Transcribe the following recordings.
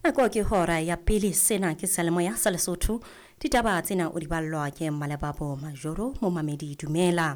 Nako ke hora ya pele, sena ke seyalemoya sa Lesotho. Ditaba tsena o di ballwa ke Mmalebabo Majoro. Momamedi, dumela.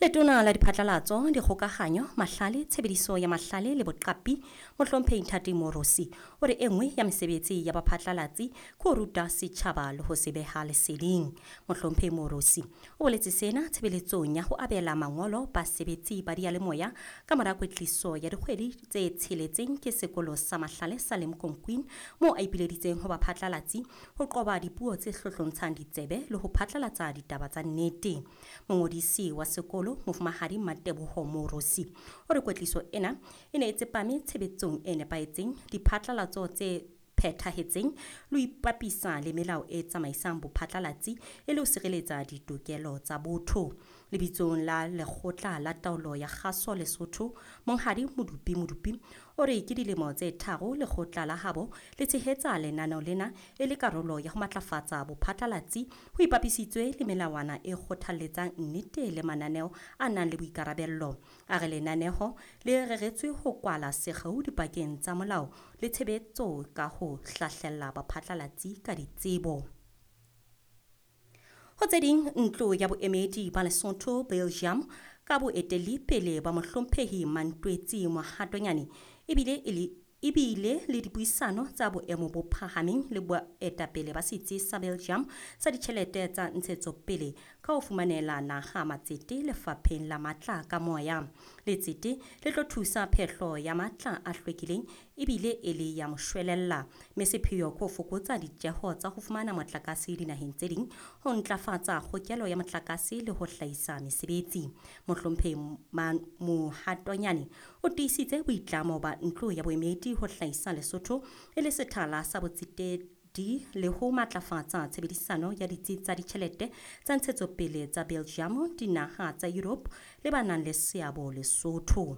Letona la diphatlalatso, dikgokahanyo, mahlale, tshebediso ya mahlale le boqapi, Mohlomphehi Nthati Morosi, o re e nngwe ya mesebetsi ya baphatlalatsi ke ho ruta setjhaba le ho se beha leseding. Mohlomphehi Morosi o boletse sena tshebeletsong ya ho abela mangolo basebetsi ba diyalemoya ka mora kwetliso ya dikgwedi tse tsheletseng ke sekolo sa mahlale sa Limkokwing, moo a ipileditseng ho baphatlalatsi ho qoba dipuo tse hlohlontshang ditsebe le ho phatlalatsa ditaba tsa nnete. Mongodisi wa sekolo, Mofumahadi Mateboho Morosi, o re kwetliso ena e ne e tsepame tshebetsong e nepahetseng, diphatlalatso tse phethahetseng le ho ipapisa le melao e tsamaisang bophatlalatsi e le ho sireletsa ditokelo tsa botho. Lebitsong la Lekgotla la Taolo ya Kgaso Lesotho, Monghadi Modupi Modupi o re ke dilemo tse tharo lekgotla la habo le tshehetsa lenaneo lena e le karolo ya ho matlafatsa bophatlalatsi ho ipapisitswe le melawana e kgothalletsang nnete le mananeo a nang le boikarabello. A re lenaneho le reretswe ho kwala sekgeo dipakeng tsa molao le tshebetso ka ho hlahlella baphatlalatsi ka ditsebo. Ho tse ding, ntlo ya boemedi ba Lesotho Belgium ka boetelli pele ba Mohlomphehi Mantwetsi Mohatonyane ebile e le ebile le dipuisano tsa boemo bo phahameng le boetapele ba setsi sa Belgium sa ditjhelete tsa ntshetsopele ka ho fumanela naha matsete lefapheng la matla ka moya. Letsete le tlo thusa phehlo ya matla a hlwekileng ebile e le ya moshwelella, mme sepheo ke ho fokotsa ditjeho tsa ho fumana motlakase dinaheng tse ding, ho ntlafatsa kgokelo ya motlakase le ho hlahisa mesebetsi. Mohlomphehi Mohatonyane o tiisitse boitlamo ba ntlo ya boemedi ho hlahisa Lesotho e le sethala sa botsetedi le ho matlafatsa tshebedisano ya ditsi tsa ditjhelete tsa ntshetsopele tsa Belgium, dinaha tsa Europe le ba nang le seabo Lesotho.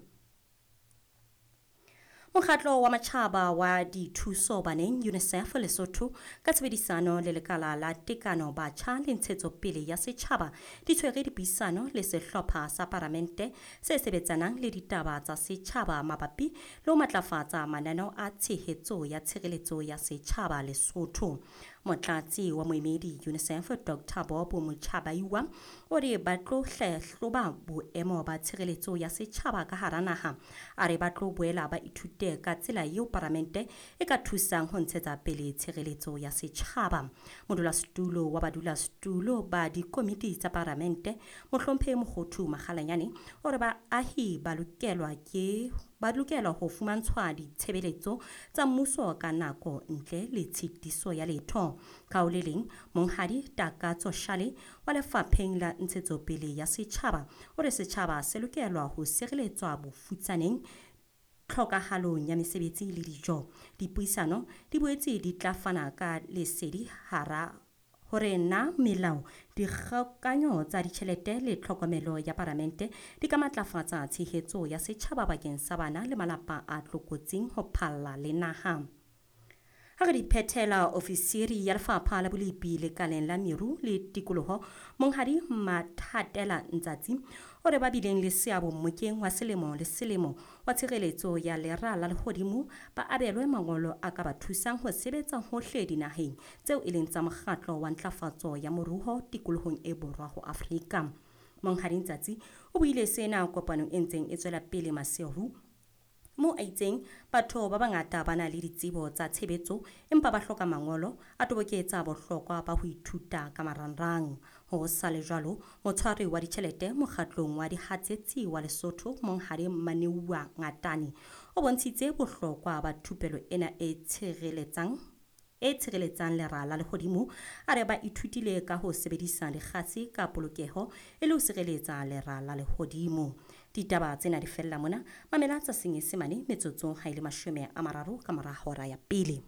Mokgatlo wa Matjhaba wa Dithuso Baneng, UNICEF Lesotho, ka tshebedisano le lekala la tekano batjha le ntshetsopele ya setjhaba di tshwere dipuisano le sehlopha sa paramente se sebetsanang le ditaba tsa setjhaba mabapi le ho matlafatsa mananeo a tshehetso ya tshireletso ya setjhaba Lesotho. Motlatsi wa moemedi UNICEF, Dr Bob Muchabaiwa, o re ba tlo hlahloba boemo ba tshireletso ya setjhaba ka hara naha. A re ba tlo boela ba ithute ka tsela eo paramente e ka thusang ho ntshetsa pele tshireletso ya setjhaba. Modulasetulo wa badulasetulo ba dikomiti tsa paramente, Mohlomphehi Mokgothu Makgalanyane, o re baahi ba lokelwa ke ba lokela ho fumantshwa ditshebeletso tsa mmuso ka nako ntle le tshitiso ya letho. Ka ho le leng, Monghadi Takatso Shale wa lefapheng la ntshetsopele ya setjhaba o re setjhaba se lokelwa ho sireletswa bofutsaneng, tlhokahalong ya mesebetsi le dijo. Dipuisano di boetse di tla fana ka lesedi hara hore na melao, dikgokanyo tsa ditjhelete le tlhokomelo ya paramente di ka matlafatsa tshehetso ya setjhaba bakeng sa bana le malapa a tlokotsing ho phalla le naha. Ha re di phethela, ofisiri ya lefapha la bolepi lekaleng la meru le tikoloho, Monghadi Mathatela Ntsatsi, o re ba bileng le seabo mmokeng wa selemo le selemo wa tshireletso ya lera la lehodimo ba abelwe mangolo a ka ba thusang ho sebetsa hohle dinaheng tseo e leng tsa mokgatlo wa ntlafatso ya moruo tikolohong e borwa ho Afrika. Monghadi Ntsatsi o buile sena kopanong e ntseng e tswela pele Maseru, moo a itseng batho ba bangata ba na le ditsebo tsa tshebetso empa ba hloka mangolo, a toboketsa bohlokwa ba ho ithuta ka marangrang. Ho sa le jwalo, motshwari wa ditjhelete mokgatlong wa dihatsetsi wa Lesotho, Monghadi Maneua Ngatane, o bontshitse bohlokwa ba thupelo ena e tshireletsang lera la lehodimo. A re ba ithutile ka ho sebedisa dikgase ka polokeho e le ho sireletsa lera la lehodimo. Ditaba tsena di fella mona. Mamela tsa Senyesemane metsotsong ha e le 30 ka mora hora ya pele.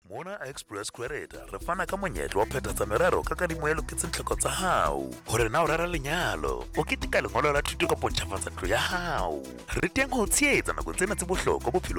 Mona Express Credit re fana ka monyetla wa phethatsa merero ka kadimo e loketseng tlhoko tsa hao. Hore na o rera lenyalo, o keteka lengolo la thuto kapo ntjhafatsa ntlo ya hao. Re teng ho tshehetsa nakong tsena tse bohlokwa bophelong.